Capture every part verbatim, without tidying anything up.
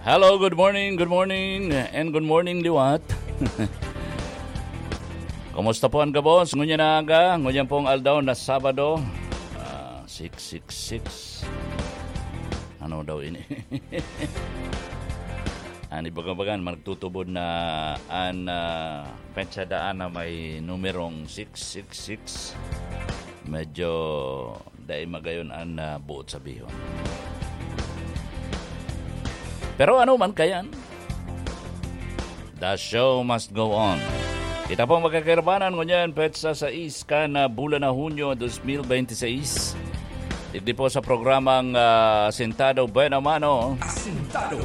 Hello, good morning, good morning, and good morning, liwat. Kumusta po ang gabos? Ngunyan na aga, ngunyan pong aldaw na Sabado. Ah, six six six. Ano daw ini? Ang ibaga-bagan, magtutubod na an, ah, petsa daan na may numerong six six six. Medyo dai magayon an, ah, buot sabihon. Pero ano man kayan, the show must go on. Kita pong magkakaibanan ngunyan, petsa sais kan, ah, bulan na Hunyo dos mil bente seis. Digdi po sa programang, ah, Sentado Buena Mano. Asentado.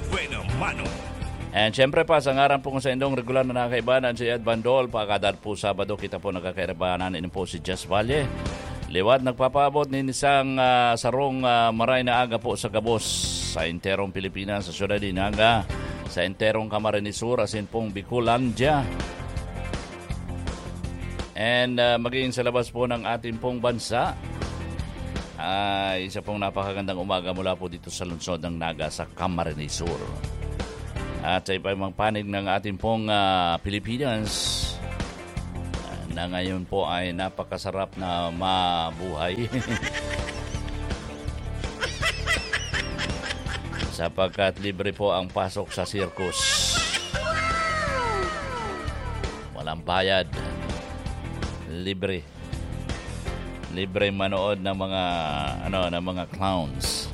Buena mano. And syempre pa, sa ngaran po sa indong regular na nakakaibanan, si Ed Bandol, pagkadad po Sabado, kita po nagkakaibanan, ini po si Jess Valle. Liwat nagpapaabot nin isang, ah, sarong, ah, maray na aga po sa gabos sa enterong Pilipinas, sa syudad ni Naga, sa enterong Camarines Sur, asin pong Bicolandia. And, ah, maging sa labas po ng ating pong bansa, ay isa pong napakagandang umaga mula po dito sa lungsod ng Naga sa Camarines Sur. At sa iba mang panig ng ating pong, ah, Pilipinas, ah, na ngayon po ay napakasarap na mabuhay. Sapagkat libre po ang pasok sa circus. Walang bayad. Libre. Libreng manood ng mga, ano, ng mga clowns.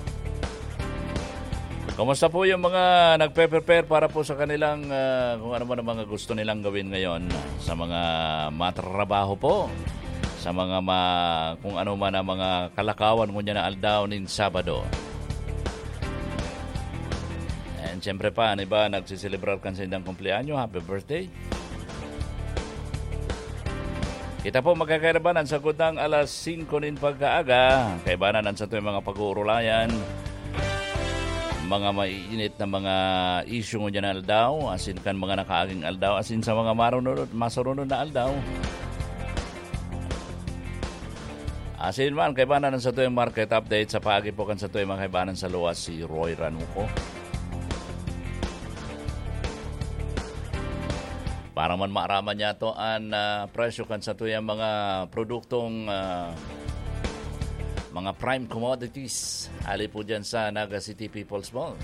Kumusta po yung mga nagpe-prepare para po sa kanilang, ah, kung ano man ang mga gusto nilang gawin ngayon, sa mga matrabaho po, sa mga ma-, kung ano man ang mga kalakawan ngunyan na aldaw nin Sabado? And siyempre pa, ang iba nagsiselebrar kan saindang kumpleanyo, happy birthday. Kita po magkakairaban ang sagkod ng alas singko nin pagkaaga. Kaibanan ang satuyang mga pag-uurulayan, mga maiinit na mga isyu ngunyan na aldaw, asin kan mga nakaaging aldaw, asin sa mga marunod, masurunod na aldaw. Asin man, kaibanan ang satuyang market update sa paagi po kan satuyang mga kaibanan sa luwas, si Roy Ranuco. Para man maaraman niyato an, ah, presyo kan satuyang mga produktong, ah, mga prime commodities, ali po dyan sa Naga City People's Mall.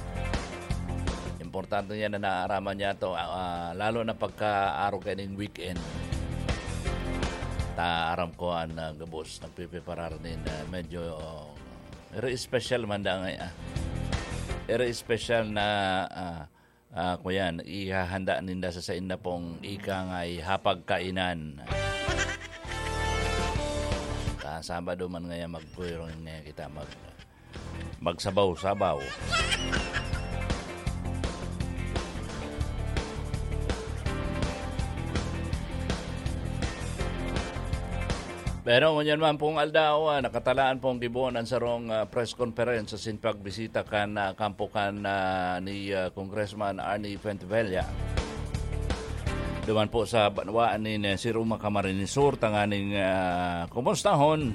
Importante yan na naaraman niyato, ah, ah, lalo na pagka-araw kaining weekend. Ta aram ko an, ah, gabos nagpipreparar nin, ah, medyo, oh, iri special man da ngay, ah. Iri special na, ah, ah, kuyan, ihahanda ninda sa sainda pong ika nga'y hapagkainan. Ka Sabado man ngaya, magkuyrong ngaya kita mag-, magsabaw-sabaw. Pero ngunyan man pong aldaw, ah, nakatalaan pong gibohon an sarong, ah, press conference asin pagbisita kan, ah, kampo kan, ah, ni, ah, Congressman Arnie Fuentebella. Duman po sa banwaan nin, eh, Siruma, Camarines Sur, tanganing, ah, kumustahon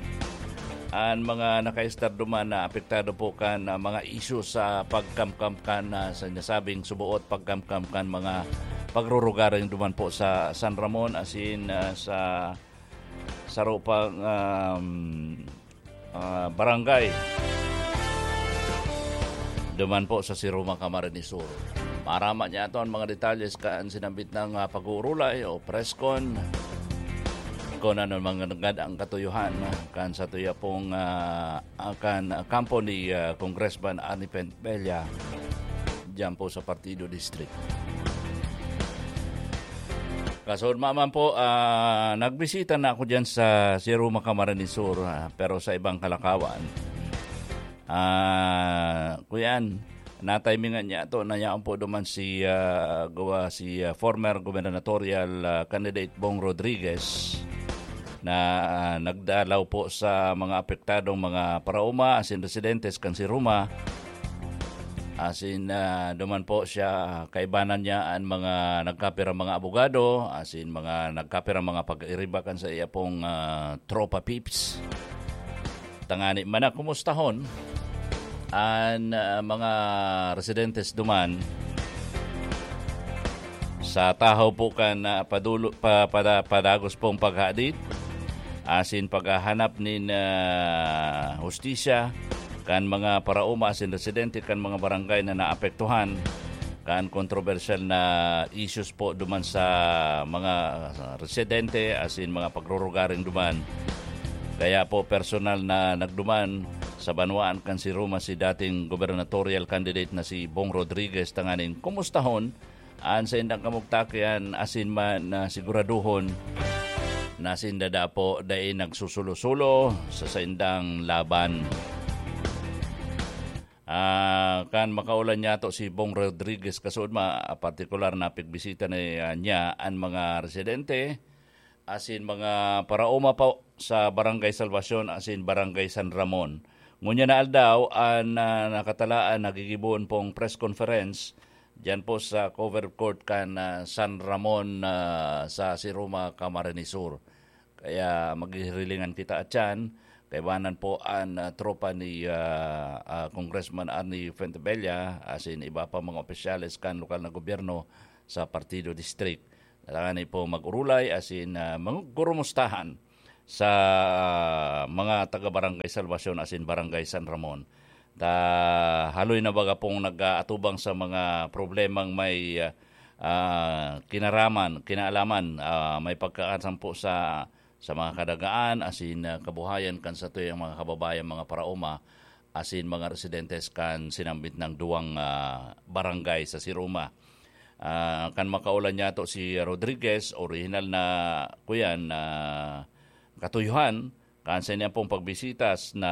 an mga nakaistar duman na apektado po kan, ah, mga isyu sa pagkamkam kan, ah, sa nasabing suboot, pagkamkam kan mga pagrurugaring duman po sa San Ramon asin, ah, sa saro pang, um, ah, barangay. Duman po sa Siruma, Camarines Sur. Maaraman niyato an mga detalye kan sinambit na, ah, pag-uurulay o press con. Kung ano man nanggad ang katuyohan, ah, kan satuya pong, ah, ah, kan, ah, kampo ni, ah, Congressman Arnie Fuentebella diyan po sa Partido District. Kasunod man po, ah, nagbisita na ako diyan sa Siruma, Camarines Sur, ah, pero sa ibang kalakawan. Ah, kuyan, natimingan niyato na yaon po duman si, ah, gawa si, ah, former gubernatorial, ah, candidate Bong Rodriguez na, ah, nagdalaw po sa mga apektadong mga paraoma asin residentes kan Siruma. Asin, ah, duman po siya, kaibanan niya an mga nagkapirang mga abogado, asin mga nagkapirang mga pag-iriba kan sa iya pong, ah, tropa peeps. Tangani man na kumustahon an, ah, mga residentes duman sa tahaw po kan, ah, padulo-, pa-, pada-, padagos pong paghadit asin paghahanap nin, ah, hustisya kan mga paraoma asin residente kan mga barangay na naapektuhan kan kontrobersyal na issues po duman sa mga residente asin mga pagrurugaring duman. Kaya po, personal na nagduman sa banwaan kan Siruma si dating gubernatorial candidate na si Bong Rodriguez tanganing kumustahon an saindang kamugtakian asin man na siguraduhon na sinda dapo dai nagsusulo-sulo sa saindang laban. Ah, kan makaulan niyato si Bong Rodriguez kasuodma, partikular na pigbisita na, ah, niya an mga residente asin mga paraoma po sa Barangay Salvacion asin Barangay San Ramon. Ngunyan na aldaw, an, ah, nakatalaan na gigibohon pong press conference diyan po sa covered court kan, ah, San Ramon, ah, sa Siruma, Camarines Sur. Kaya maghihirilingan kita atyan, kaibanan po an, ah, tropa ni, ah, ah, Congressman Arnie Fuentebella asin iba pa mga opisyales kan lokal na gobyerno sa Partido District. Kailangan po mag-urulay asin, ah, magurumustahan sa mga taga Barangay Salvacion asin Barangay San Ramon. Ta haloy na baga pong nag-aatubang sa mga problemang may, ah, ah, kinaraman, kinaalaman, ah, may pagkakasampo sa, sa mga kadagaan asin, ah, kabuhayan kan satuyang mga kababayan, mga paraoma asin mga residentes kan sinambit nang duwang, ah, barangay sa Siruma. Ah, kan makaulan niyato si Rodriguez, orihinal na, kuyan, na katuyuhan, kan sa niya pong pagbisitas na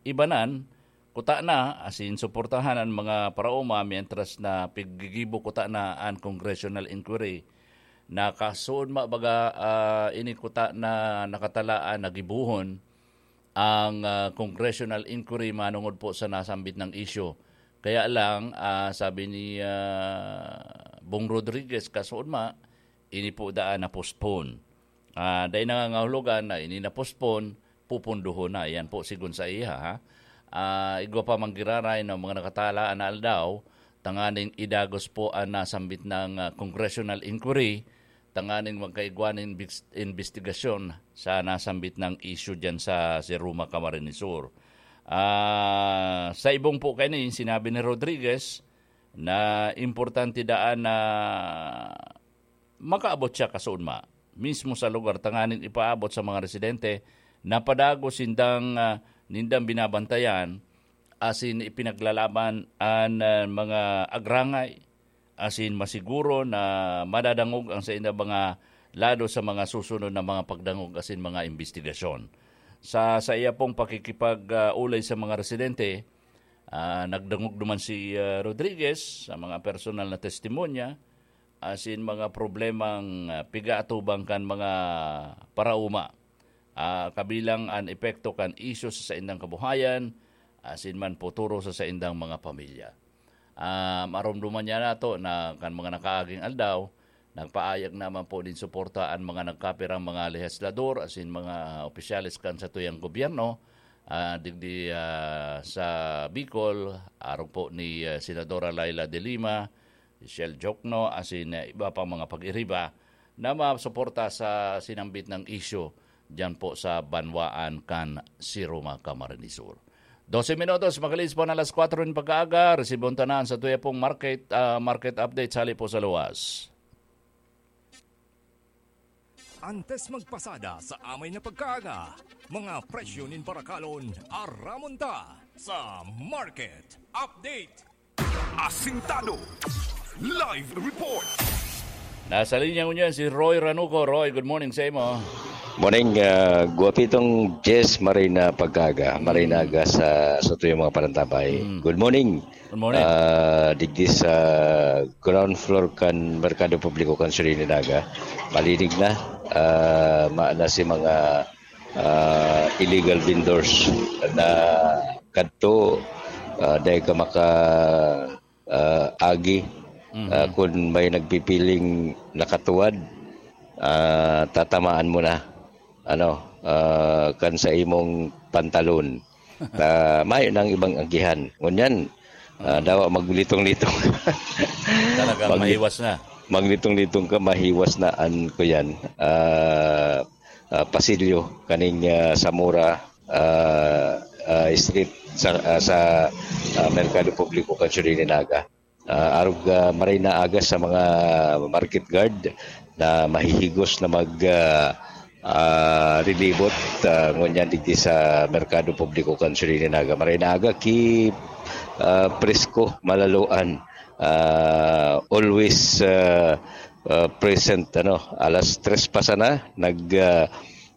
ibanan, kuta na, asin suportahan an mga paraoma, mientras na piggigibo kuta na an congressional inquiry. Nakasuod ma baga, ah, ini kuta na nakatalaan na gibohon ang, ah, congressional inquiry manongod po sa nasambit nang isyu. Kaya lang, ah, sabi ni, ah, Bong Rodriguez, kasuod ma, ini po daan na-postpone. Ah, dai nangangahulugan na ini na-postpone, pupundohon na. Yan po, sigon sa iya, ha? Ah, igwa pa mang giraray na mga nakatalaan na aldaw, tanganing idagos po an nasambit nang, ah, congressional inquiry, tanganing magkaigwa nin bis-, imbestigasyon sa nasambit nang isyu diyan sa Siruma, Camarines Sur. Ah, sa ibong po kaini, sinabi ni Rodriguez na importante daan na makaabot siya kasuodma, mismo sa lugar, tanganing ipaabot sa mga residente na padagos sindang, ah, nindang binabantayan, asin ipinaglalaban an, ah, mga agrangay, asin masiguro na madadangog ang saindang mga lado sa mga susunod na mga pagdangog asin mga imbestigasyon. Sa, sa iya pong pakikipag, ah, ulay sa mga residente, ah, nagdangog naman si, ah, Rodriguez sa mga personal na testimonya, asin mga problemang, ah, pigaatubang kan mga paraoma, ah, kabilang an epekto kan isyu sa saindang kabuhayan, asin man futuro sa saindang mga pamilya. Ah, maromdoman niya nato na kan mga nakaaging aldaw, nagpaayag naman po nin suporta an mga nagkapirang mga lehislador asin mga opisyales kan satuyang gobyerno, ah, digdi, ah, sa Bicol, arog po ni, ah, Senadora Leila de Lima, Shell Jokno, asin, ah, iba pang mga pag-iriba na masuporta sa sinambit nang isyu diyan po sa banwaan kan Siruma, Camarines Sur. Dose minutos, makalipas po na alas kwatro nin pagkaaga, resibon tanan sa tuya pong market, ah, market update, hali po sa luwas. Antes magpasada sa amay na pagkaaga, mga presyo nin barakalon, aramon ta sa market update. Asintado. Live report. Nasa linya ngunyan si Roy Ranuco. Roy, good morning sa imo. Morning, ah, guwapitong Jess, maray na pag-aga, maray na aga sa, sa tuyong mga parantabay. Mm. Good morning. Good morning. Ah, digdi sa ground floor kan Merkado Publiko kan Surili Naga. Malinig na. Ah, ma-, na si mga, ah, illegal vendors na kadto, ah, dahil ka maka, ah, agi. Mhm. Ah, kun may nagpipiling nakatuwad, ah, tatamaan mo na, ano, ah, kan sa imong pantalon. Ta mayo nang ibang agihan. Ngunyan, ah, dawa maglitong-litong. Talagang Mag- mahiwas na. Maglitong-litong ka, mahiwas na an kuyan. Ah, ah, pasilyo kaning, ah, Zamora, ah, ah, Street sa, ah, sa, ah, Merkado Publiko kan Siyudad ni Naga. Ah, arog, ah, maray na aga sa mga market guard na mahihigos na mag, ah, ah, rilibot, ah, ngunyan digdi sa Merkado Publiko kan Siyudad ni Naga. Maray na aga ki, ah, presko, malaloan. Ah, always, ah, ah, present, ano, alas tres pa sana, nag, ah,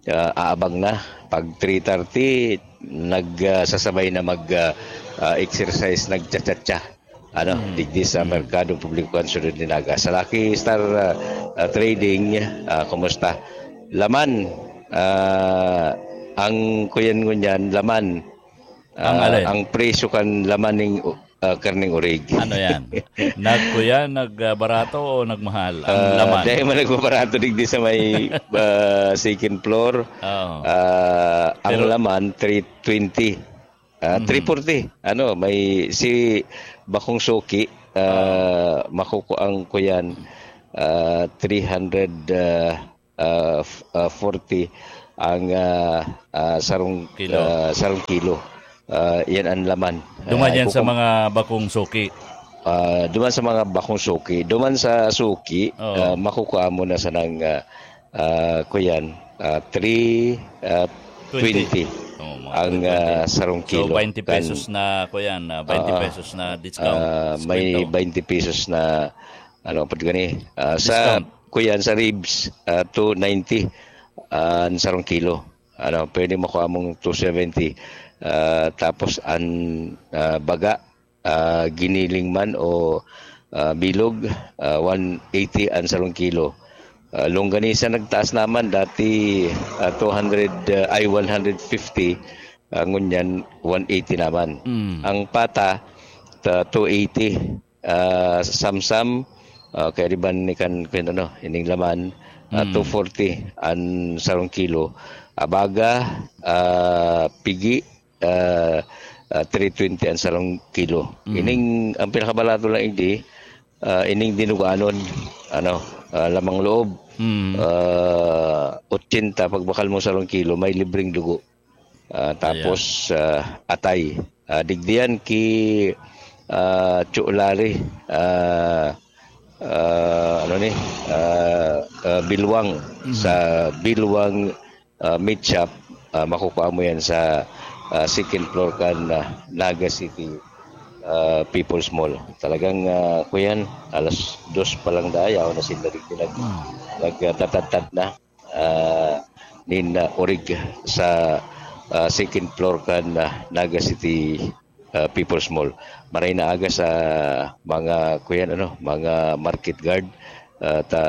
ah, aabang na. Pag three thirty, nag, ah, sasabay na mag, ah, ah, exercise, nagcha-cha-cha. Ano, digdi sa Merkado Publiko kan Siyudad ni Naga. Sa Lucky Star, ah, ah, Trading, ah, kumusta? Laman, ah, ang kuyan ngunyan, laman. Ang Ah, alin? Ang presyo kan laman ning, ah, karneng orig. Ano yan? Nagkuya, nagbarato o nagmahal? Ang Ah, laman. Dahil man nagbabarato digdi sa may, ah, second floor. Oo. Ah, ang Pero- laman, three twenty. Ah, Mhm. three forty. Ano, may si Bakong Suki, ah, makukuang ko yan, ah, three hundred, ah, ah, f- ah, forty ang, ah, ah, sarong Kilo. ah, sarong kilo. Ah, yan ang laman. Duman Ah, yan sa kukum- mga bakong suki. Ah, duman sa mga bakong suki. Duman sa suki, Oo. ah, makukuha mo na sanang, ah, ah, kuyan, ah, three twenty Oo, mga ang, three twenty. Ah, sarong kilo. So, twenty Kan- pesos na, kuyan, ah, twenty Ah, pesos na discount. Ah, may Diskwento. twenty pesos na, ano, pag gani, ah, sa, Discount. Kuyan, sa ribs, ah, two ninety, ah, ang sarong kilo. Ano, pwede makuha mong two seventy. Ah, tapos, ang, ah, baga, ah, giniling man o, ah, bilog, ah, one eighty ang sarong kilo. Ah, longganisa nagtaas naman, dati, ah, two hundred, ah, ay, one hundred fifty, ah, ngunyan, one eighty naman. Mm. Ang pata, ta-, two eighty. Ah, samsam, ah, kaya di ba ni kan, kan ano, ining laman, ah, Mm. two forty ang sarong kilo. Abaga, ah, pigi, ah, ah, three twenty ang sarong kilo. Mm. Ining, ang pinakabarato lang, hindi, ah, ining dinuganon, ano, ah, lamang loob. Mm. Ah, ochenta, pagbakal mo sarong kilo, may libreng dugo. Ah, tapos, ah, atay. Ah, digdiyan ki, ah, Chulari, ah, ah, ano ni, ah, ah, Bilwang. Mhm. Sa Bilwang, ah, Meat Shop, ah, makukuha mo yan sa, ah, second floor kan, ah, Naga City, ah, People's Mall. Talagang, ah, kuyan, alas dos pa lang daya, o na sila digdi nag-, Mm. nagtatadtad na, ah, nin, ah, orig sa, ah, second floor kan, ah, Naga City, ah, People's Mall. Maray na aga sa mga, kuyan, ano, mga market guard, ah, ta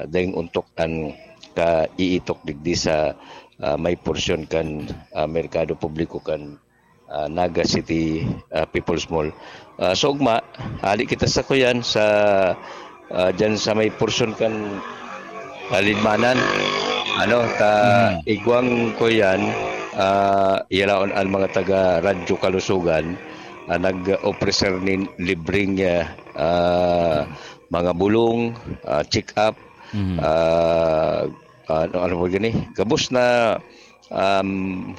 daing ontok an kaiitok digdi sa, ah, may porsyon kan, ah, merkado publiko kan, ah, Naga City, ah, People's Mall. Ah, sa ugma, hali kita sa kuyan sa, ah, dyan sa may porsyon kan, ah, Lidmanan. Ano, ta Mm. igwang kuyan, ah, yalaon ang mga taga Radyo Kalusugan, ah, nag-offer nin libreng, ah, ah, mga bulong, ah, check-up, Mhm. ah, ano, ano po gani? Gabos na, um,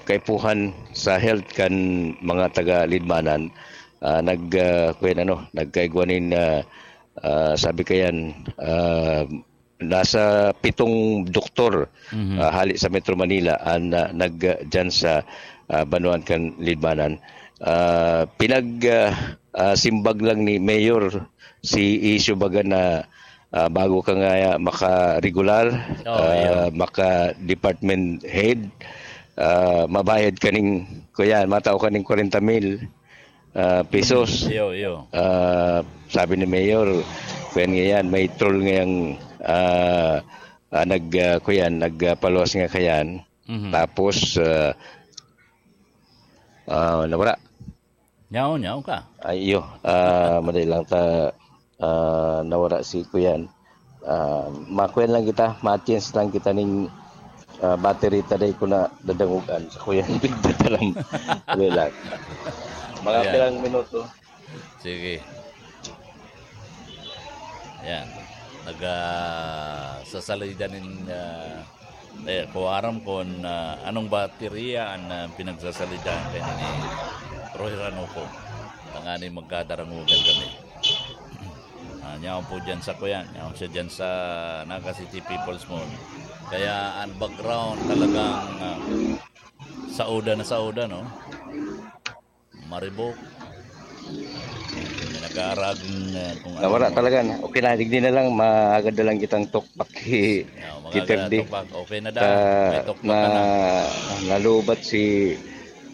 kaipuhan sa health kan mga taga Lidmanan, ah, nag, ah, kuyan, ano, nagkaigwa nin, ah, ah, sabi kayan, ah, nasa pitong doktor, Mhm. ah, hali sa Metro Manila, ang, ah, nag, ah, dyan sa, ah, banwaan kan Lidmanan. Ah, pinag, ah, ah, simbag lang ni Mayor si Isu baga na, ah, bago ka nga maka-regular, Oh, ah, yeah. maka-department head, ah, mabayad kaning, kuyan, matao kaning kwarenta mil, ah, pesos. Iyo, iyo. Ah, sabi ni Mayor, kuyan ngayon, may troll ngayang, ah, ah, nag, ah, kuyan, nagpaluwas nga kayan. Mhm. Tapos, ah, ah, nawara. Nyaw, nyaw ka. Ay, iyo. Ah, madali lang ta, ah, nawara si kuyan. Ah, makuyan lang kita, ma-change lang kita ning, Ah, battery ta dai ko na dadangogan sa kuyan pigtatalam. Wala lang. Mga Ayan. pirang minuto. Sige. Ayan. Nag, ah, sasalida nin, ah, eh, ko aram kon, ah, anong baterya an, ah, pinagsasalidahan kayo ni Roy Ranuco. Tanganing magkadarangugan kami. Ah, nyaon po dyan sa kuyan. Nyaon siya dyan sa Naga City People's Mall. Kaya ang background talagang, ah, sauda na sauda, no? Maribok. May nag-aaraging, ah, kung Nawara ano. talaga na. Okay na, digdi na lang, maagad na lang kitang tukpak ki-, Yeah, ki-, magagad Kirby. tukpak. Okay na daw. Ka-, May tukpak na, ka na. nalubat si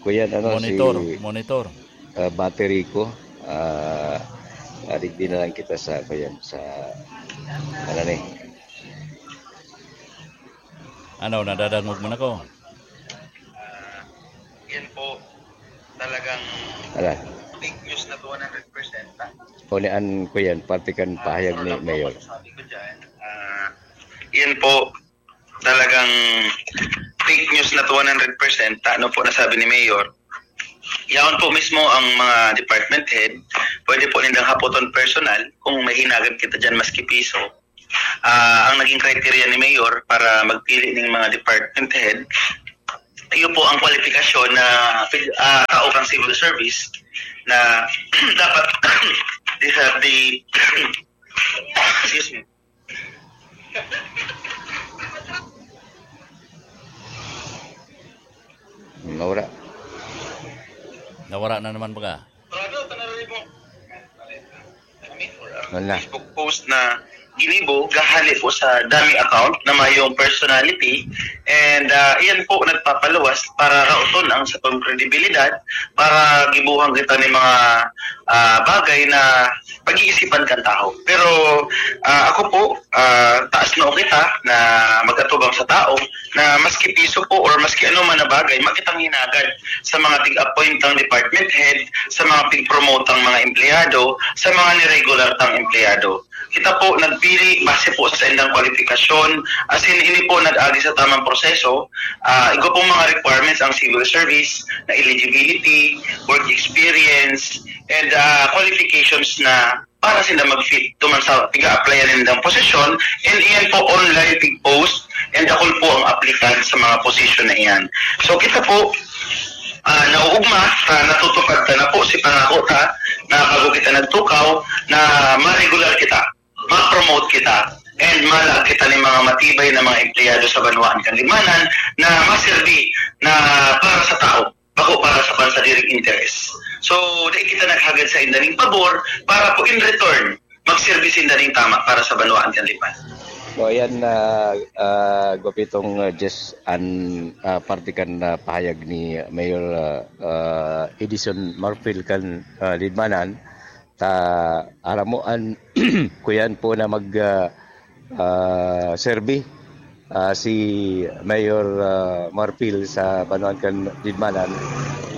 kuyan, ano, Monitor, si, monitor. ah, battery ko. Ah, ah, digdi na lang kita sa, kuyan, sa, ano ni? Ano, nadadangog mo na ko? Ah, yan po, talagang Ala. fake news na to one hundred percent, ah. O ni an ko yan, parte kan Ah, pahayag so ni lang po Mayor. masasabi ko dyan. Ah, yan po, talagang fake news na to one hundred percent. Ano po nasabi ni Mayor? Yaon po mismo ang mga department head. Pwede po nindang hapoton personal kung may hinagan kita dyan maski piso. Ah, ang naging criteria ni Mayor para magpili ning mga department head, iyo po ang kwalifikasyon na, ah, tao kang civil service na dapat di sa, di, excuse me. Nawara. Nawara na naman baga. Wala. Facebook post na ginibo, gahali po sa dummy account na mayong personality. And, ah, iyan po nagpapaluwas para raoton ang satong kredibilidad, para gibuhan kita ni mga, ah, bagay na pag-iisipan kan tawo. Pero, ah, ako po, ah, taas noo kita na mag-atubang sa tao na maski piso po or maski ano man na bagay, makitang hinagad sa mga tig-appointang department head, sa mga pig-promotang mga empleyado, sa mga niregular tang empleyado. Kita po nagpili base po sa indang kwalifikasyon, as in, ini po nag-agi sa tamang proseso. Ah, igwa pong mga requirements ang civil service na eligibility, work experience, and, ah, qualifications na para sila mag-fit duman sa piga-applyan nindang posisyon, and iyan po online pig-post, and dakul po ang applicant sa mga posisyon na iyan. So, kita po, ah, nauugma, ah, natutupad ta na po si pangako ta na bago kita nagtukaw, na ma-regular kita, ma-promote kita, and malag kita nin mga matibay na mga empleyado sa banwaan kan Libmanan na maserbi na para sa tao, bako para sa pansadiring interes. So, dai kita naghagad sa inda ning pabor para po in return, magserbi sinda ning tama para sa banwaan kan Libmanan. So, ayan, ah, ah, gwapitong, ah, Jess, an, ah, parte kan, ah, pahayag ni Mayor, ah, ah, Edison Marfil kan, ah, Libmanan. Ta, aram mo, an, kuyan po na mag, ah, ah, serbi, ah, si Mayor, ah, Marfil sa banwaan kan Libmanan,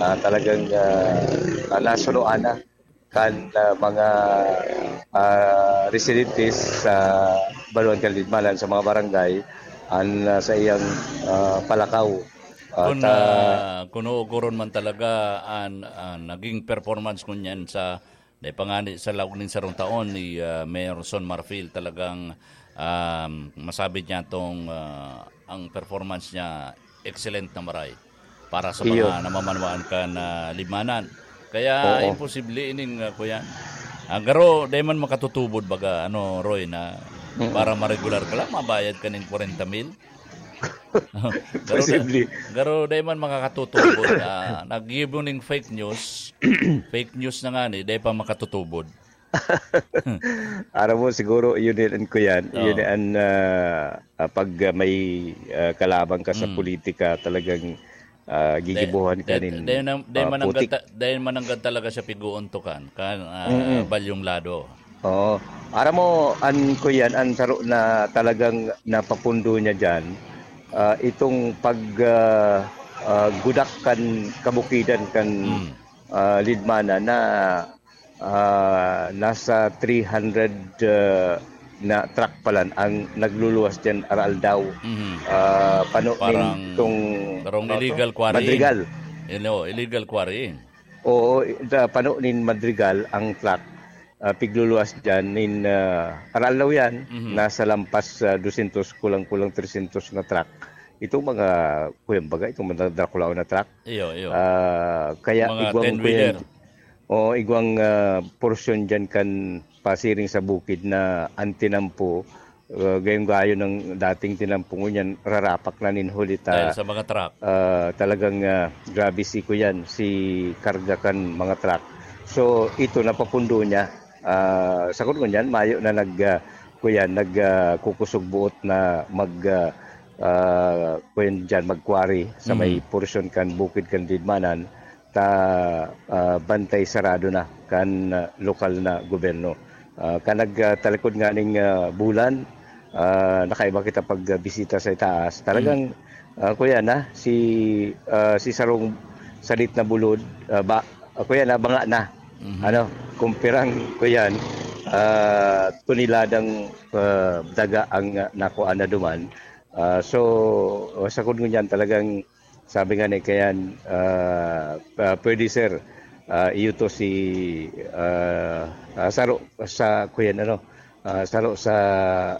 ah, talagang, ah, ah, nasunoan na kan, ah, mga, ah, residentes sa banwaan kan Libmanan, sa mga barangay, an, ah, sa iyang, ah, palakaw. At, Kun, ah, ah, kun uugoron man talaga an, an naging performance ngunyan sa, dai pa ngani sa laog nin sarong taon ni, ah, Mayor Son Marfil, talagang, um, masabi niya tong, ah, ang performance niya excellent na maray para sa Iyo. mga namamanwaan kan, ah, Libmanan. Kaya Oo. imposible ining, ah, kuya. Ah, garo, dai man makatutubod baga, ano, Roy, na Mm. para ma-regular ka lang, mabayad ka ning kwarenta mil. Garo da-, Posible. garo dai man makakatutubod na naggibo ning fake news. Fake news na ngani, dai pa makatutubod. Aram mo, siguro, yun din, kuyan. Oo. Yun an, ah, ah, pag, ah, may, ah, kalaban ka sa Mm. politika, talagang, ah, Dai, gigibuhan ka dai, nin, dai na, dai ah, mananggad putik. ta-, dai mananggad talaga siya pig-uuntukan, kan, ah, Mm-mm. balyong lado. Oo. Aram mo, an, kuyan, an saro na talagang napapundo niya diyan, ah, itong pag, ah, ah, gudak kan kabukidan kan, Mm. ah, Lidmana na, ah, nasa three hundred, ah, na truck palan ang nagluluwas diyan araaldaw. Mhm. Ah, pano Parang, nitong, parang ah, illegal quarrying. Madrigal. Ilo-, illegal quarrying. Oo, i-, da-, pano nin Madrigal ang truck, ah, pigluluwas diyan nin, ah, araaldaw yan, Mhm. nasa lampas sa dosyentos, kulang-kulang tresyentos na truck. Itong mga, kuyan baga, itong mga dakulaon na truck. Iyo, iyo. Ah, kaya Mga igwang ten-wheeler. kuyan, oo, igwang, ah, porsyon diyan kan pasiring sa bukid na ang tinampo, ah, gayong gayo ng dating tinampo ngunyan, rarapak na nin huli ta, Dahil sa mga truck. ah, talagang, ah, grabe si kuyan, si karga kan mga truck. So, ito napapundo niya. Ah, sa ngunyan, mayo na nag, ah, kuyan, nag, ah, kukusog buot na mag, ah, ah, kuyan diyan, mag-quarry sa may Mm. porsyon kan bukid kan Didmanan, ta, ah, bantay sarado na kan, ah, lokal na gobyerno. Ah, kan nag, ah, talikod nganing, ah, bulan, ah, nakaiba kita pagbisita sa itaas. Talagang, Mm. ah, kuya na, si, ah, si sarong salit na bulod, ah, ba, ah, kuya na, banga na. Mhm. Ano, kung pirang, kuyan, ah, toneladang, ah, daga ang, ah, nakuha na duman. Ah, so, sa kung ngunyan talagang sabi nga ni Kayan, ah, ah, pwede, sir, ah, iyo to si, ah, ah, saro sa kuyan, ano, ah, saro sa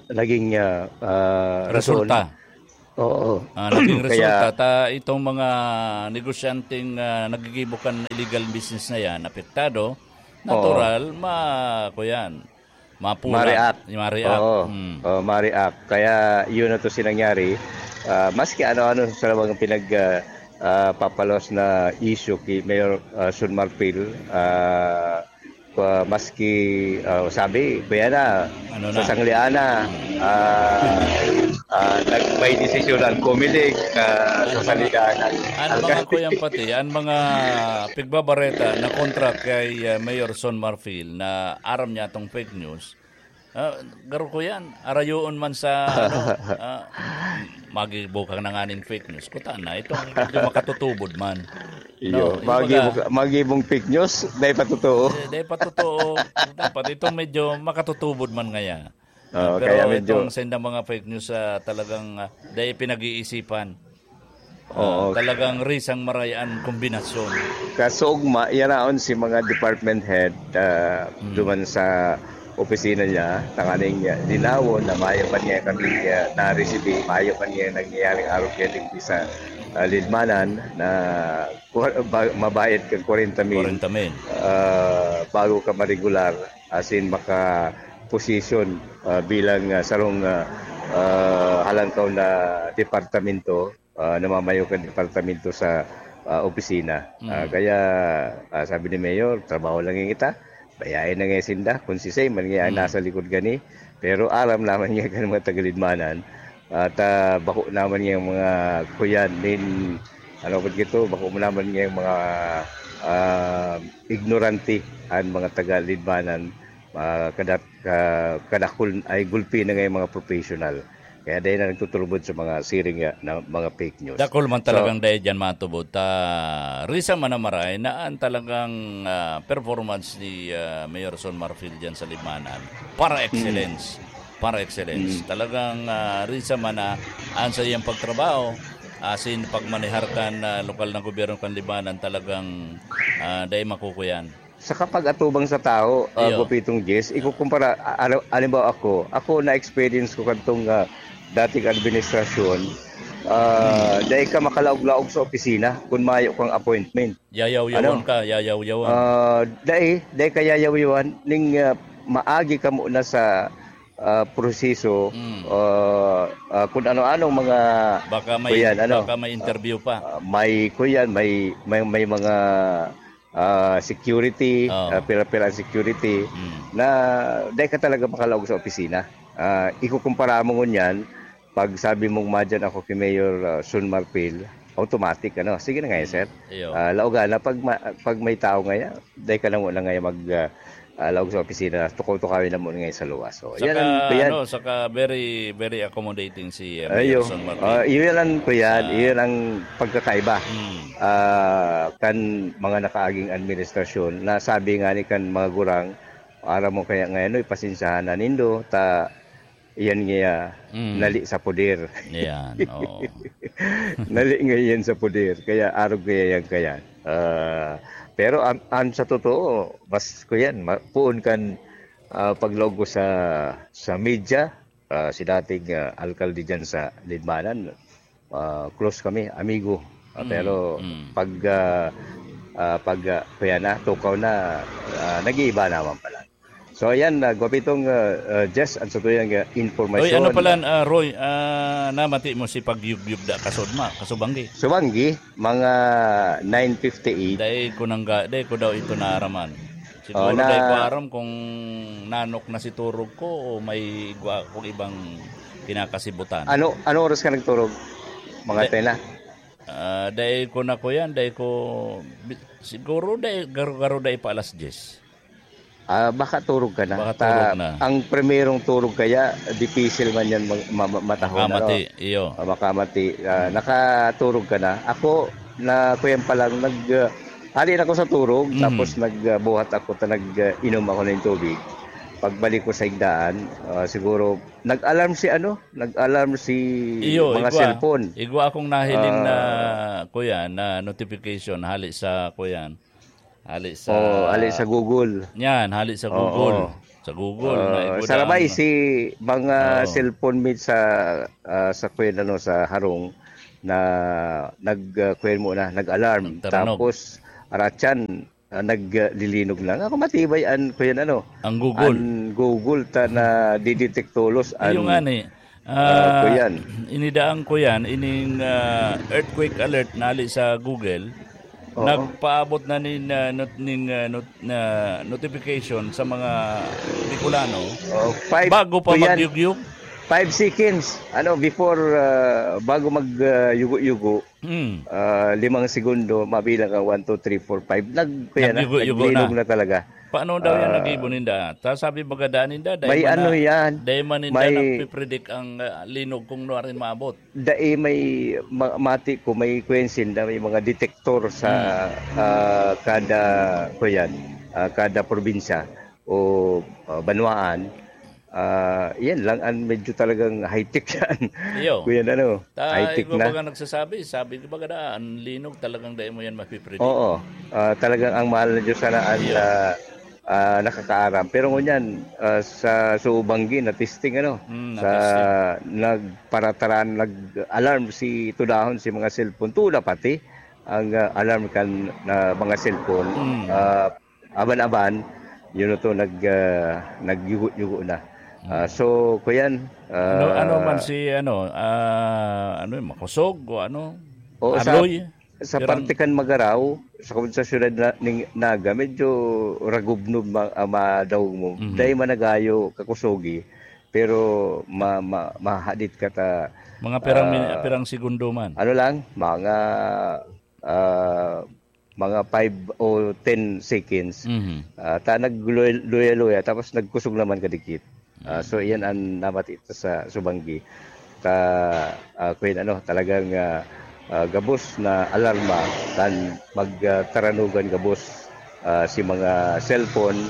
naging, ah, ah, rason. Resulta. Oo. Ah, naging Kaya resulta, ta itong mga negosyanteng, ah, naggigibo kan illegal business na yan, apektado, Oo. natural, ma-, kuyan, Mapulang, Ma-react. ma-react. Oo. Mm. Oo, ma-react. Kaya yun na to si nangyari. Ah, maski ano-ano sa mga pinag, ah, ah, papalos na issue ki Mayor, ah, Son Marfil, ah, pa-, maski, ah, sabi, kuya na, Ano na? sa Sangliana, ah, ah, nag-, may desisyon ang Comelec, ah, sa Ano, Sangliana. ano Ang mga kasi kuyang pati, ang mga pigbabareta na kontra kay, ah, Mayor Son Marfil na aram niya tong fake news, Ah, garo ko yan. Arayoon man sa, ano, ah, magibukang na nga nin fake news. Kuta na, itong medyo makatutubod man. Iyo, No, kumbaga, magibo-, magibong fake news, dahil pa totoo. Eh, dahil pa totoo. Dapat itong medyo makatutubod man ngaya. Oo, Ah, pero kaya medyo itong senda mga fake news, ah, talagang, ah, dahil pinag-iisipan. Ah, Oo. talagang risang maray an kombinasyon. Kasugma, yaraon si mga department head, ah, Hmm. duman sa opisina niya, tanganing, ah, linawon na mayo pa niya kami, ah, na-resibi, mayo pa niya nangyayaring arog kaya digdi sa, ah, Lidmanan na kwa-, ba-, mabayad kang kwarenta mil, Kwarenta mil. ah, bago ka ma-regular, as in maka-position, ah, bilang, ah, sarong, ah, ah, halangkaw na departamento. Ah, namamayo kan departamento sa, ah, opisina. Ah, Mm. kaya, ah, sabi ni Mayor, "Trabaho lang yan kita. Bayain na nga sinda kung sisay man nga ang Mm. nasa likod gani." Pero aram naman nga kan mga tagalidmanan at, ah, bako naman nga mga kuyan nin, ano po gito, bako mo naman nga mga, ah, ignorante ang mga tagalidmanan. Ah, kada-, ka-, kadakul ay gulpi na nga yung mga professional. Kaya dahil na nagtuturubod sa mga siring nga na mga fake news. Dakul man So, talagang dahil dyan matubod. Ta, risa man na maray na ang talagang, ah, performance ni, ah, Mayor Son Marfil dyan sa Libmanan. Para Mm. excellence. Para excellence. Mm. Talagang, ah, risa man na ang sa iyang pagtrabaho, asin pagmanehar kan, ah, lokal na gobyerno kan Libmanan, talagang, ah, dahil makukuyan. Sa kapag-atubang sa tao, ah, Iyo. Gupitong Jess, ikukumpara, a-, a-, halimbawa ako, ako na-experience ko kadtong, ah, dating administrasyon, ah, Hmm. dai ka makalaog-laog sa opisina kun mayo kang appointment. Yayaw-yawan Ano? ka, yayaw-yawan. Ah, dai, dai ka yayaw-yawan, ning, ah, maagi ka muna sa, ah, proseso, Hmm. ah, ah, kun ano-anong mga Baka may, kuyan, ano, baka may interview pa. ah, may kuyan, may, may, may mga ah, security, Oo. ah, pira-pira ang security, Mm. na dai ka talaga makalaog sa opisina. Ah, ikukumpara mo ngunyan, pag sabi mong madyan ako kay Mayor, ah, Sun Marfil, automatic, ano, "Sige na nga, Mm. sir." Iyo. Ah, laogan na pag ma-, pag may tao ngaya, dai ka na muna ngaya mag, ah, ah, laog sa opisina, tukaw-tukawin na muna ngaya sa luwas. So, Saka, yan ang, yan. ano, saka very, very accommodating si, eh, Ayo. Mayor Son Martin. Ah, iyon ang, kuyan, Ah. iyon ang pagkakaiba. Hmm. Ah, kan mga nakaaging administrasyon, na sabi nga ni kan mga gurang, "Aram mo kaya ngayon, oy, pasensyahan na nindo, ta, iyan nga Mm. nali sa poder. Yan, oo. Nali nga iyan sa poder, kaya arog kaya yan kaya. Ah, pero an, an sa totoo, mas ko yan, ma, poon kan, ah, paglaog ko sa, sa media, ah, si dating, ah, alkalde dyan sa Libmanan, ah, close kami, amigo. Ah, Mm, pero mm. pag, ah, ah, pag, ah, kuya na, tukaw na, ah, nag-iiba naman pala. So, ayan, ah, gwapitong, ah, ah, Jess, ang sa tuyang, ah, Oy, ano impormasyon. pala, ah, Roy, ah, namati mo si Pagyugyug da kasudma, kasubanggi? Subanggi, mga nine fifty-eight. Dai ko nangga-, dai ko daw ito naaraman. Siguro Oh, na dai ko aram kung nanok na si turog ko o may igwa akong ibang kinakasibutan. Ano, ano oras ka nagturog? Mga Dai, ten na? Ah, dai ko na ko yan, dai ko, bi-, siguro dai, garo-garo dai pa alas diyes. Ah, baka turog ka na. Baka Ta-, turog na. Ang primerong turog kaya, dipisil man yan mag-, ma-, ma-, matahon, Makamati, ano? iyo. Ah, makamati. Ah, Hmm. nakaturog ka na. Ako, na kuyan pa lang, nag, ah, hali na ako sa turog, Mhm. tapos nag, ah, buhat ako, ta nag, ah, inom ako ng tubig. Pagbalik ko sa higdaan, ah, siguro, nag-alarm si ano, nag-alarm si Iyo, mga igwa. cellphone. Igwa akong nahiling na, Ah. kuya, na notification hali sa, kuya, hali sa Oo, hali sa Google. Yan, hali sa Oo. Google. Sa Google, na Ah, igwa sarabay daan. si mga Oo. cellphone mate sa, ah, sa kuya, ano, sa harong na nag, ah, kuya mo na, nag-alarm. Nagtaranog. Tapos, aratyan, ah, naglilinog lang. Ako matibay an, kuyan ano, Ang Google. an Google ta na didetect tolos Iyo an, nga ni, ah, ah, kuyan. inidaan ko yan, ining, ah, earthquake alert na hali sa Google, Oo. nagpaabot na nin, ah, not-, ning, ah, not-, na notification sa mga Bicolano Oo, five, bago pa kuyan, magyugyug. five seconds, ano, before, ah, bago mag, ah, yugo-yugo, Hmm. Ah, limang segundo, mabilang ka, one, two, three, four, five. Nag-, kaya na, Nagyugo-yugo naglinog na. na talaga. Paano daw yan Ah, nag-ibo ninda? Ta sabi baga daan ninda, dai May man ano na, yan, dai man ninda may nagpipredict ang, ah, linog kung nuarin maabot. Dai may ma-, mati ko, may kwensin na may mga detector sa, Hmm. ah, kada, kuyan, ah, kada probinsya o, ah, banwaan. Ah, yan lang ang medyo talagang high-tech yan. Iyo. Kuya, ano, Ta, high-tech iba na. Baga nagsasabi, sabi ko baga na, ang linog talagang dai mo yan mapipredict. Oo. Ah, talagang ang mahal na Diyos sana ang, Iyo. ah, ah, nakakaaram. Pero ngunyan, ah, sa Subanggi, na-testing, ano, Hmm, sa na-testing. nagparataran, nag-alarm si tudahon si mga cellphone. Tuda pati ang, ah, alarm kan, na mga cellphone. Hmm. Ah, aban-aban, yun to, nag, ah, nagyugo-yugo na. Ah, Mm. so, kuyan, Ano, ano ah, man si, ano, ah, ano yun, makosog o ano? Oo, sa, Aloy? sa Pirang parte kan Magarao, sa, sa siyudad na, ning Naga, medyo ragubnob ma-, ah, madawog mo. Mhm. Dai man nagayo kakusogi, pero ma-, ma-, mahadit ka ta, Mga pirang min-, ah, pirang segundo man? ano lang, mga, ah, mga five o ten seconds. Mhm. Ah, ta nagluya-luya, tapos nagkusog naman kadikit. Ah, Mm. so, iyan ang namati ito sa Subanggi. Ta, ah, kuyan, ano, talagang, ah, ah, gabos na alarma kan mag, ah, taranugan gabos, ah, si mga cellphone,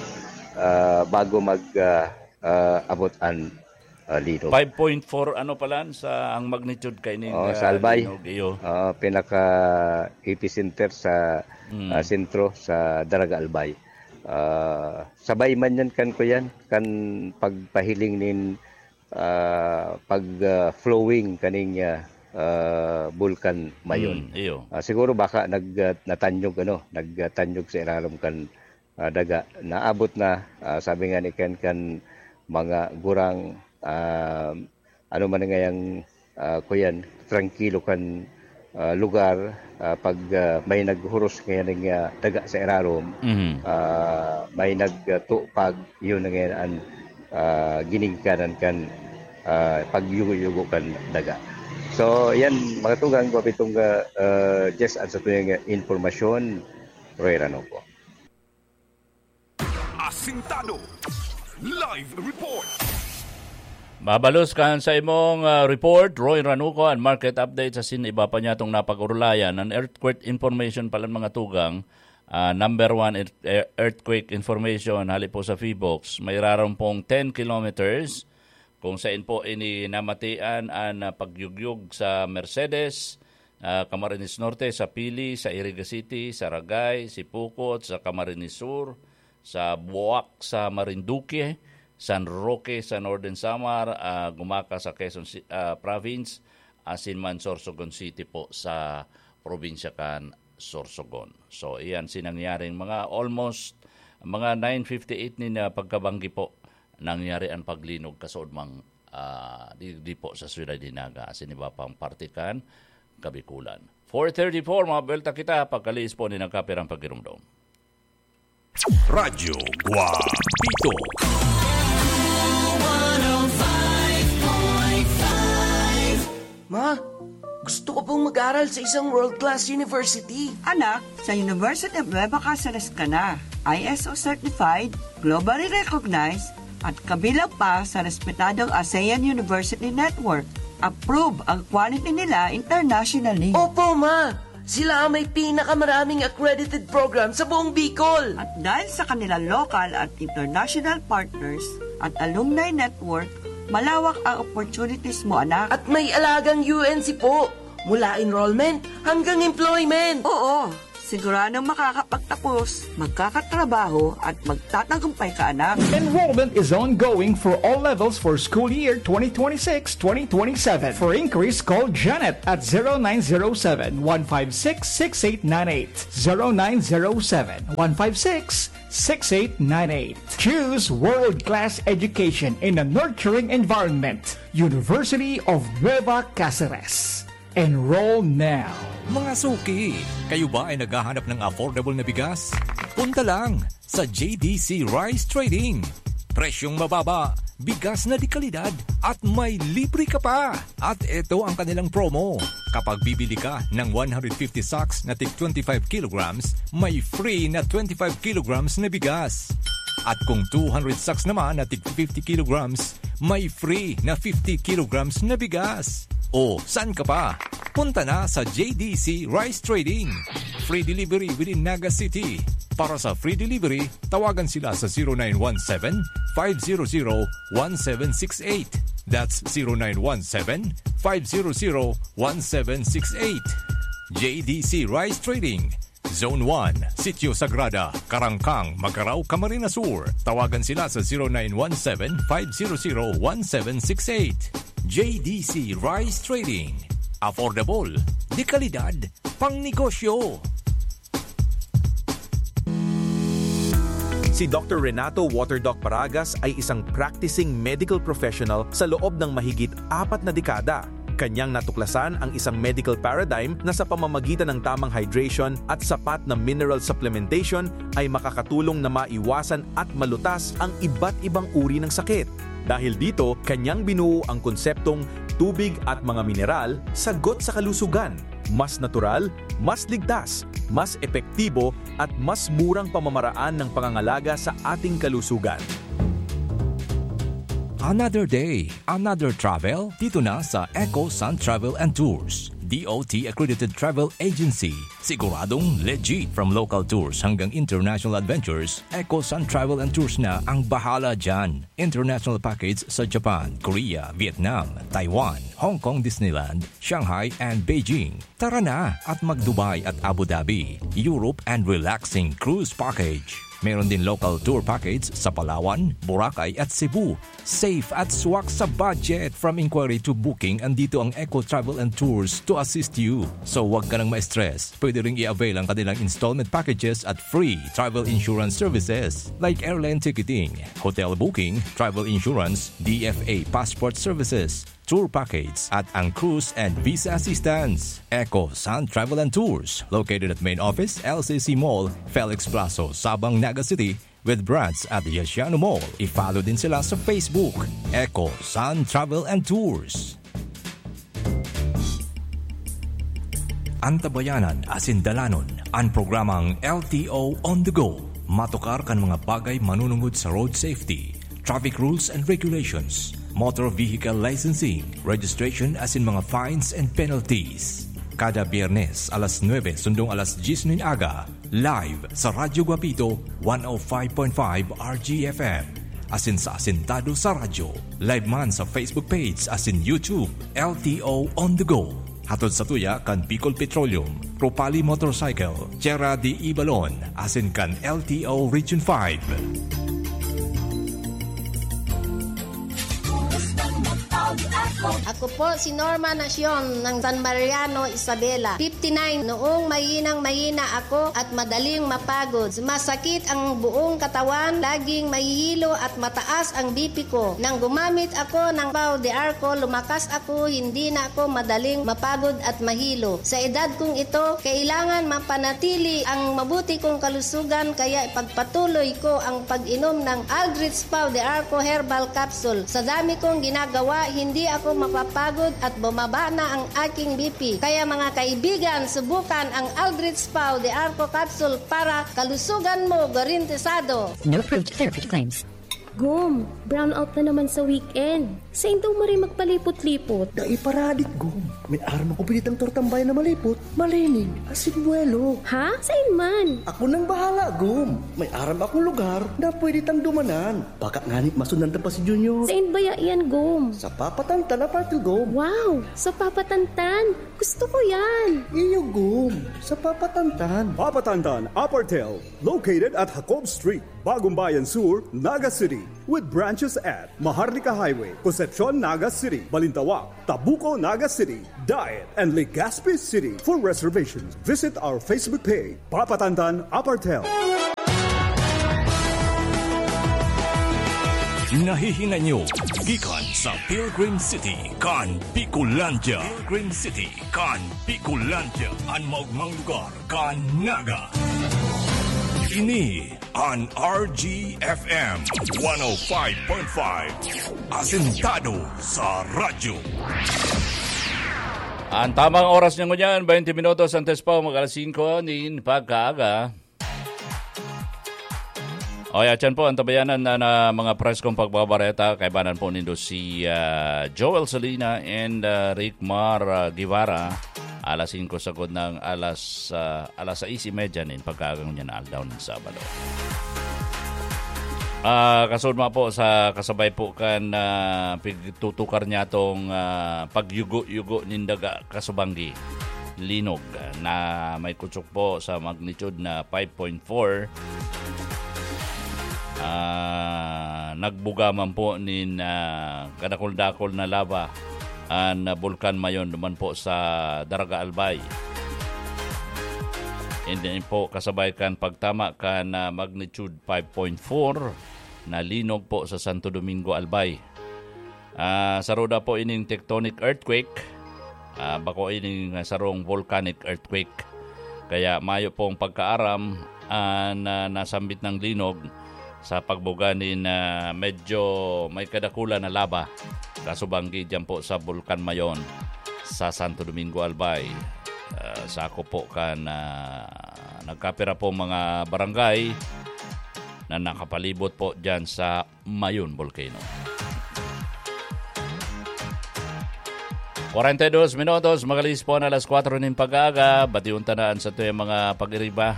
ah, bago mag, ah, ah, abot an, ah, linog. Five point four ano palan sa ang magnitude kaining, Oh, ah, sa Albay. linog, iyo. Ah, pinaka epicenter sa, Mm. ah, sentro sa Daraga Albay. Ah, sabay man yan kan kuyan, kan pagpahiling nin, ah, pag, ah, flowing kaning, ah, ah, Bulkan Mayon. Mm, iyo. Ah, siguro baka nag, ah, natanyog, ano, nagtanyog sa irarom kan ah, daga. Naabot na, ah, sabi nga ni Ken, kan mga gurang, ah, ano man ngayang, ah, kuyan, trangkilo kan, ah, lugar, ah, pag, ah, may naghuros ngayon ng, ah, daga sa irarom, Mhm. ah, may nagtupag, yun na ngayon ang, ah, ginigikanan kan, ah, pagyugo-yugo kan daga. So, yan, mga tugang, gwapitong, ah, ah, Jess, at sa tuyang, ah, impormasyon, Roy Ranoco. Asintado. Live report. Mabalos kan sa imong, ah, report, Roy Ranuco, an market update sa sin iba pa niya tong napag-orulayan. An earthquake information pala, mga tugang, ah, number one ear-, ear-, earthquake information, hali po sa PHIVOLCS, may raron pong ten kilometers Kung sain po ini namatian an, ah, pagyugyog sa Mercedes, ah, Camarines Norte, sa Pili, sa Iriga City, sa Ragay, Sipocot, sa Camarines Sur, sa Buoac, sa Marinduque, San Roque, sa Northern Samar, ah, gumaka sa Quezon Ci-, ah, Province, asin man Sorsogon City po sa probinsya kan Sorsogon. So, iyan si nangyaring mga almost mga nine fifty-eight nin, ah, pagkabanggi po nangyari an paglinog kasaud mang, ah, di, di po sa siyudad ni Naga, asin iba pang parte kan Kabikulan. Four thirty-four, mga buwelta kita, pagkalihis po ni nagkapirang pagirumdom. Radyo Guapito. Ma, gusto ko pong mag-aral sa isang world-class university. Anak, sa University of Nueva Caceres ka na. I S O certified, globally recognized, at kabilang pa sa respetadong ASEAN University Network. Approve ang quality nila internationally. Opo, ma! Sila ang may pinakamaraming accredited program sa buong Bicol. At dahil sa kanilang local at international partners at alumni network, malawak ang opportunities mo, anak. At may alagang U N C po. Mula enrollment hanggang employment. Oo, siguradong makakapagtapos, magkakatrabaho, at magtatagumpay ka, anak. Enrollment is ongoing for all levels for school year twenty twenty-six twenty twenty-seven. For inquiries, call Janet at zero nine zero seven, one five six, six eight nine eight. Zero nine zero seven, one five six, six eight nine eight. Choose world-class education in a nurturing environment. University of Nueva Caceres. Enroll now. Mga suki, kayo ba ay naghahanap ng affordable na bigas? Punta lang sa J D C Rice Trading. Presyong mababa, bigas na de kalidad, at may libre ka pa. At eto ang kanilang promo. Kapag bibili ka ng one hundred fifty sacks na tig twenty-five kilograms, may free na twenty-five kilograms na bigas. At kung two hundred sacks naman na tig fifty kilograms, may free na fifty kilograms na bigas. O, saan ka pa? Punta na sa J D C Rice Trading. Free delivery within Naga City. Para sa free delivery, tawagan sila sa zero nine one seven, five zero zero, one seven six eight. That's zero nine one seven, five zero zero, one seven six eight. J D C Rice Trading, Zone one, Sitio Sagrada, Carangcang, Magarao, Camarines Sur. Tawagan sila sa zero nine one seven, five zero zero, one seven six eight. J D C Rice Trading. Affordable, de kalidad, pangnegosyo. Si Doktor Renato Waterdoc Paragas ay isang practicing medical professional sa loob ng mahigit apat na dekada. Kanyang natuklasan ang isang medical paradigm na sa pamamagitan ng tamang hydration at sapat na mineral supplementation ay makakatulong na maiwasan at malutas ang iba't ibang uri ng sakit. Dahil dito, kanyang binuo ang konseptong tubig at mga mineral, sagot sa kalusugan. Mas natural, mas ligtas, mas epektibo, at mas murang pamamaraan ng pangangalaga sa ating kalusugan. Another day, another travel? Dito na sa Eco Sun Travel and Tours, D O T accredited travel agency. Siguradong legit. From local tours hanggang international adventures, Eco Sun Travel and Tours na ang bahala dyan. International package sa Japan, Korea, Vietnam, Taiwan, Hong Kong Disneyland, Shanghai, and Beijing. Tara na at mag-Dubai at Abu Dhabi, Europe, and relaxing cruise package. Meron din local tour package sa Palawan, Boracay, at Cebu. Safe at swak sa budget. From inquiry to booking, andito ang Eco Travel and Tours to assist you. So, wag ka nang ma-stress. Pwede ring i-avail ang kanilang installment packages at free travel insurance services like airline ticketing, hotel booking, travel insurance, D F A passport services, tour package, at ang cruise and visa assistance. Eco Sun Travel and Tours, located at main office, L C C Mall, Felix Plazo, Sabang, Naga City, with branch at Yasiano Mall. I-follow din sila sa Facebook, Eco Sun Travel and Tours. Antabayanan asin dalanon an programang L T O On The Go. Matukar kan mga bagay manunungod sa road safety, traffic rules and regulations, motor vehicle licensing, registration asin mga fines and penalties. Kada Biyernes, alas nuebe sundong alas dyes nin aga, live sa Radyo Guapito, one oh five point five R G F M. asin sa Asintado sa Radyo. Live man sa Facebook page asin YouTube, L T O On The Go. Hatod sa tuya kan Bicol Petroleum, Ropali Motorcycle, Tierra de Ibalon, asin kan L T O Region five. Ako po si Norma Nacion ng San Mariano, Isabela. Fifty-nine, noong mahinang mahina ako at madaling mapagod. Masakit ang buong katawan, laging mahihilo at mataas ang B P ko. Nang gumamit ako ng Pau de Arco, lumakas ako, hindi na ako madaling mapagod at mahilo. Sa edad kong ito, kailangan mapanatili ang mabuti kong kalusugan, kaya ipagpatuloy ko ang pag-inom ng Aldrich Pau de Arco Herbal Capsule. Sa dami kong ginagawa, hindi ako mapapagod at bumaba na ang aking B P. Kaya mga kaibigan, subukan ang Aldrich Pau de Arco Capsule para kalusugan mo garantisado. No approved therapy claims. Gom, brownout na naman sa weekend. Sain daw maray magpalipot-lipot? Dai paradik, Gom. May aram ako binitang tortambay na malipot, malinig, asin buwelo. Ha? Sain man? Ako nang bahala, Gom. May aram akong lugar na pwede tang dumanan. Baka ngani masundan ta pa si Junior. Sain baya iyan, Gom? Sa Papatantan Apartel, Gom. Wow! Sa Papatantan? Gusto ko yan! Iyo, Gom. Sa Papatantan. Papatantan Apartel, located at Jacob Street, Bagumbayan Sur, Naga City. With branches at Maharlika Highway, Concepcion, Naga City, Balintawak, Tabuco, Naga City, Daet, and Legazpi City. For reservations, visit our Facebook page, Papatantan Apartel. Nahihinay nyo gikan sa Pilgrim City kan Bicolandia. Pilgrim City kan Bicolandia, an maogmang lugar kan Naga. Ini an R G F M one oh five point five, asentado sa radyo. An tamang oras niya ngunyan, twenty minutos antes pa mag-alas singko nin pagkaaga. O, yan po ang tabayanan na, na mga preskong pagbabareta. Kaibanan po nindo si ah, Joel Salina and ah, Rick Mar ah, Guevara. Alas singko sagod ng alas ah, alas sais y media nin pagkaagang niya na aldaw ng Sabado. Ah, kasunod mo po sa kasabay po kan ah, pigtutukar niya tong ah, pagyugo-yugo nin daga kasubanggi. Linog ah, na may kutsok po sa magnitude na five point four. Ah, nagbuga man po nin ah, kadakol-dakol na lava an Bulkan Mayon duman po sa Daraga Albay. And then po kasabay kan pagtama kan ah, magnitude five point four na linog po sa Santo Domingo Albay. Ah, saruda po ining tectonic earthquake. Ah, bako ining ah, sarong volcanic earthquake. Kaya mayo pong pagkaaram an ah, nasambit ng linog sa pagbuga nin ah, medyo may kadakulan na laba kasubanggi diyan po sa Bulkan Mayon sa Santo Domingo Albay. Ah, sako po kan ah, nagkapira po mga barangay na nakapalibot po diyan sa Mayon Volcano. Kwarenta y dos minutos, makalihis po na alas kwatro nin pag-aaga. Batiyon ta na an satuyang mga pag-iriba,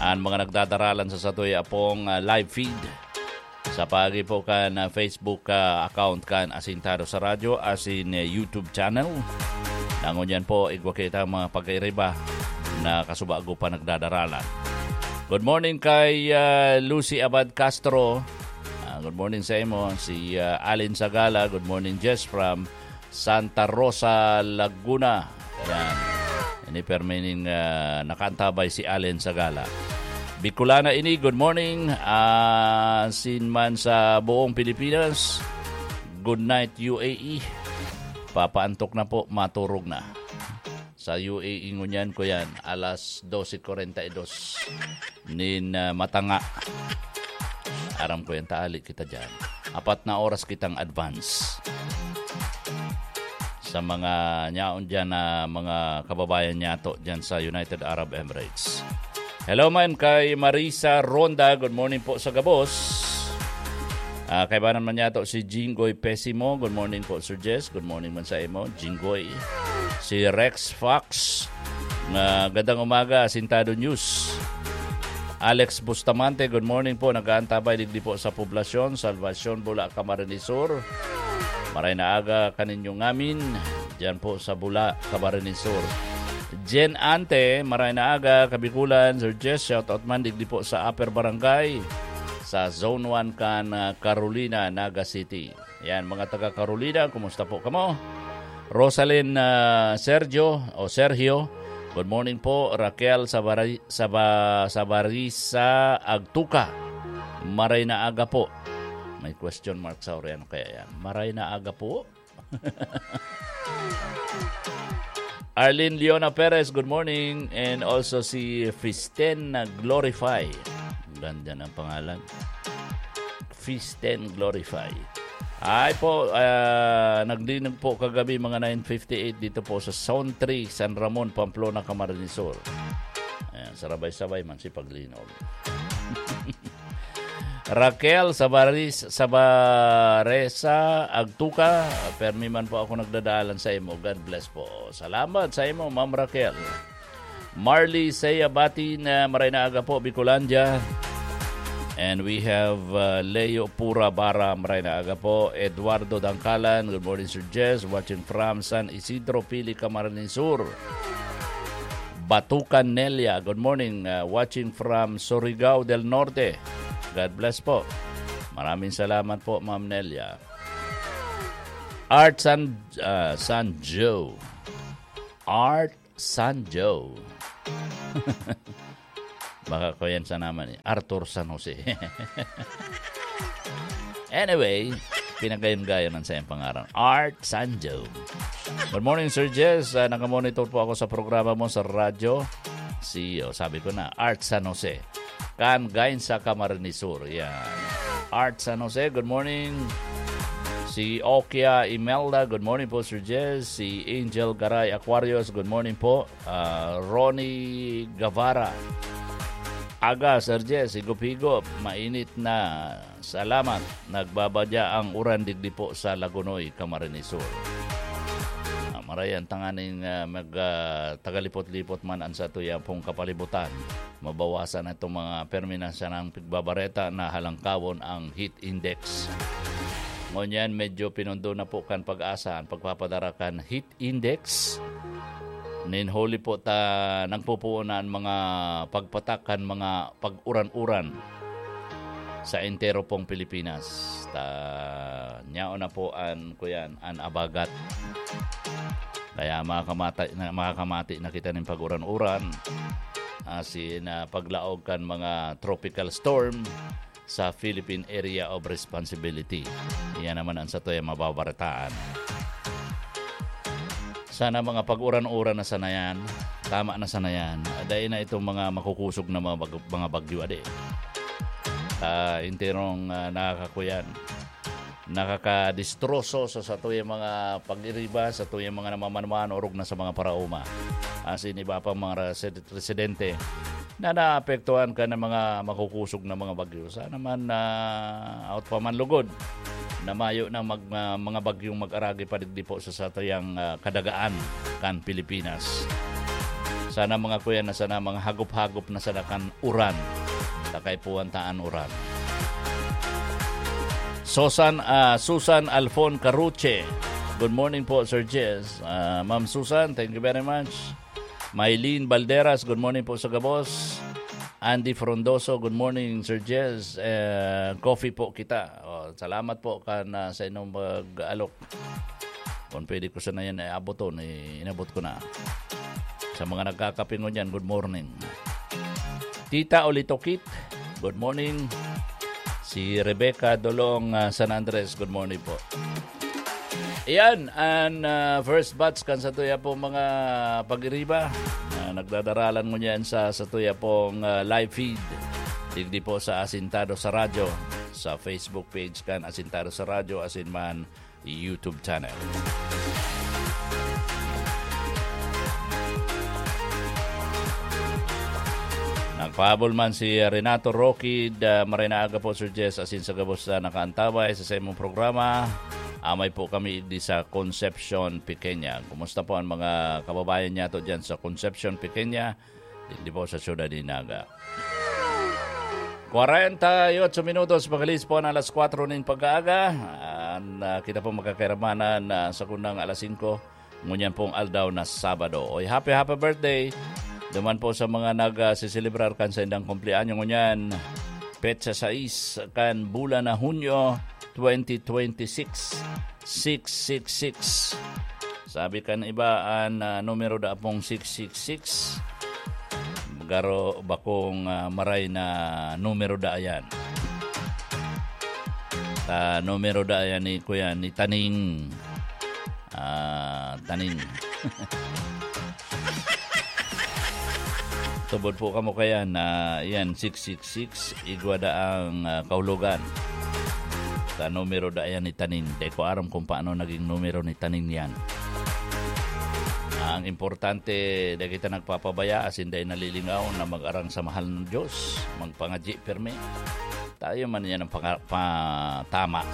an mga nagdadaralan sa satuya pong ah, live feed sa paagi po kan ah, Facebook ah, account kan Asintado sa Radyo asin ah, YouTube channel. Ngunyan po, igwa kita ang mga pag-iriba na kasubago pa nagdadaralan. Good morning kay ah, Lucy Abad Castro. Ah, good morning sa imo. Si ah, Alin Sagala, good morning, Jess, from Santa Rosa, Laguna. Yan. Ini permining ah, nakantabay si Allen Sagala. Bicolana ini, good morning. Ah, sin man sa buong Pilipinas, good night, U A E. Papaantok na po, maturog na. Sa U A E ngunyan ko yan, alas dose kwarenta y dos nin ah, matanga. Aram ko yan, taali kita dyan. Apat na oras kitang advance sa mga nyaon dyan na mga kababayan nyato dyan sa United Arab Emirates. Hello man kay Marisa Ronda. Good morning po sa gabos. Ah, kaibanan man nyato si Jinggoy Pesimo. Good morning po, Sir Jess. Good morning man sa imo, Jinggoy. Si Rex Fox. Magandang umaga, Asintado News. Alex Bustamante, good morning po. Nag-aantabay digdi po sa Poblacion, Salvacion, Bula, Camarines Sur. Maray na aga kaninyo ngamin, diyan po sa Bula, Camarines Sur. Jen Ante, maray na aga, Kabikulan. Sir Jess, shout out man digdi po sa Upper Barangay, sa Zone one kan, ah, Carolina, Naga City. Yan, mga taga Carolina, kumusta po kamo? Rosalyn, ah, Sergio o Sergio, good morning po. Raquel Sabari-, Saba-, Sabarisa Agtuca, maray na aga po. May question mark sa uri, ano kaya yan? Maray na aga po? Arlene Leona Perez, good morning. And also si Fisten na Glorify. Ganda ng pangalan. Fisten Glorify. Ay po, ah, naglinog po kagabi mga nine fifty-eight dito po sa Zone three, San Ramon, Pamplona, Camarines Sur. Ayan, sarabay-sabay man si paglinog. Raquel Sabaris-, Sabaresa Agtuca, permi man po ako nagdadalan sa imo. God bless po. Salamat sa imo, Ma'am Raquel. Marley Seya Batin, maray na aga po, Bicolandia. And we have, uh, Leo Pura Bara, maray na aga po. Eduardo Dangkalan, good morning, Sir Jess. Watching from San Isidro, Pili, Camarines Sur. Batukan Nelia, good morning. Uh, watching from Surigao del Norte. God bless po. Maraming salamat po, Ma'am Nelia. Art San, uh, Sanjo. Art Sanjo. Baka ko yan sa naman eh. Arthur San Jose. Anyway, pinagayon-gayon ang sayang pangaran. Art Sanjo. Good morning, Sir Jess. Ah, nakamonitor po ako sa programa mo sa radyo. See you. Sabi ko na, Art San Jose. Kan Gainsa, Camarines Sur. Yan. Art San Jose, good morning. Si Okia Imelda, good morning po, Sir Jess. Si Angel Garay Aquarius, good morning po. Ah, Ronnie Guevara. Aga, Sir Jess, higop-higop. Mainit na. Salamat. Nagbabadya ang uran digdi po sa Lagonoy, Camarines Sur. Ah, maray an tanganing, ah, mag, ah, tagalipot-lipot man an satuyang pong kapalibutan. Mabawasan itong mga permi na sanang pigbabareta na halangkawon ang heat index. Ngunyan, medyo pinundo na po kan PAGASA an pagpapadara kan heat index. Nin huli po ta nagpupuon na an mga pagpatak kan mga pag-uran-uran sa entero pong Pilipinas. Ta nyaon na po an, kuyan, an abagat. Kaya makakamata-, na, makakamati na kita nin pag-uran-uran. Asin, ah, paglaog kan mga tropical storm sa Philippine Area of Responsibility. Iyan naman ang satoy mababaretaan. Sana mga pag-uran-uran na sana yan. Tama na sana yan. Dahil na itong mga makukusog na mga bag-, mga bagyo, adi. Ah, enterong, ah, nakakakuyan. Nakakadistroso sa satuyang mga pag-iriba, satuyang mga namamanuan, orog na sa mga paraoma. Asin iba pang mga resi-, residente na naapektuhan kan mga makukusog na mga bagyo. Sana man, ah, out pa man lugod na mayo na mag-, ah, mga bagyong mag-aragi pa digdi po sa satuyang, ah, kadagaan kan Pilipinas. Sana mga kuya na sana mga hagop-hagop na sana kan uran. Takay po ang taan uran. Susan, ah, Susan Alfon Caruche. Good morning po, Sir Jess. Ah, Ma'am Susan, thank you very much. Mylene Balderas, good morning po sa gabos. Andy Frondoso, good morning, Sir Jess. Eh, coffee po kita. Oh, salamat po kan, ah, sa inyong pag-alok. Kung pwede ko sana yan, eh, abuton, eh, inabot ko na. Sa mga nagkakape ngunyan, good morning. Tita Olitokit, good morning. Si Rebecca Dolong, ah, San Andres, good morning po. Ayan, an, ah, first batch kan satuya pong mga pag-iriba. Ah, nagdadaralan ngunyan sa satuya pong, ah, live feed. Digdi po sa Asintado sa Radyo, sa Facebook page kan Asintado sa Radyo, asin man YouTube channel. Nagpahabol man si Renato Roquid, ah, maray na aga po, Sir Jess, asin sa gabos na nakaantabay sa saimong programa. Amay po kami di sa Concepcion, Pequeña. Kumusta po ang mga kababayan niyato diyan sa Concepcion, Pequeña? Digdi po sa siyudad ni Naga. Kwarenta y otso minutos, magalis po an alas kwatro nin pag-aaga. An, ah, kita po magkakairamanan, ah, sa kundang alas singko, ngunyan pong aldaw na Sabado. Oy, happy, happy birthday! Duman po sa mga nag, ah, siselebrar kan saindang kumpleanyo ngunyan. Petsa sais kan bulan na Hunyo, twenty twenty-six, six six six. Sabi kan iba, an, ah, numero da pong six six six. Garo bakong, ah, maray na numero da yan. Ta numero da yan ni kuya, ni Taning. Ah, Taning. Tubod po kamo kaya na yan, six six six, igwa da ang, ah, kahulogan. Sa numero da yan ni Taning. Di ko aram kung paano naging numero ni Taning yan. Ang importante, di kita nagpapabaya, asin dai nalilingaw na mag-arang sa mahal ng Diyos, magpangadyi pirmi. Tayo man yan ang panga-, pa-, tama.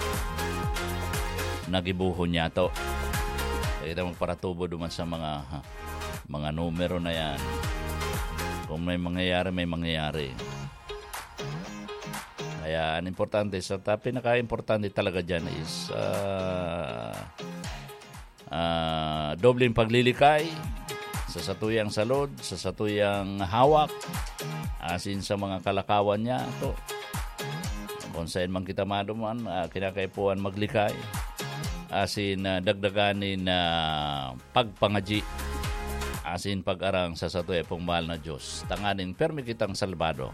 Nagibuhon niya to. Di kita magparatubo duman sa mga, ha, mga numero na yan. Kung may mangyayari, may mangyayari. Kaya ang importante, sa ta-, pinaka-importante talaga dyan is, ah, ah, dobleng paglilikay sa satuyang salod, sa satuyang hawak, asin sa mga kalakawan niya. To, kung saan man kita maduman, ah, kinakaipuhan maglikay. Asin, ah, dagdagan nin, ah, pagpangadyi. Asin pag-arang sa satuya pong mahal na Diyos. Tanganing permi kitang salbado.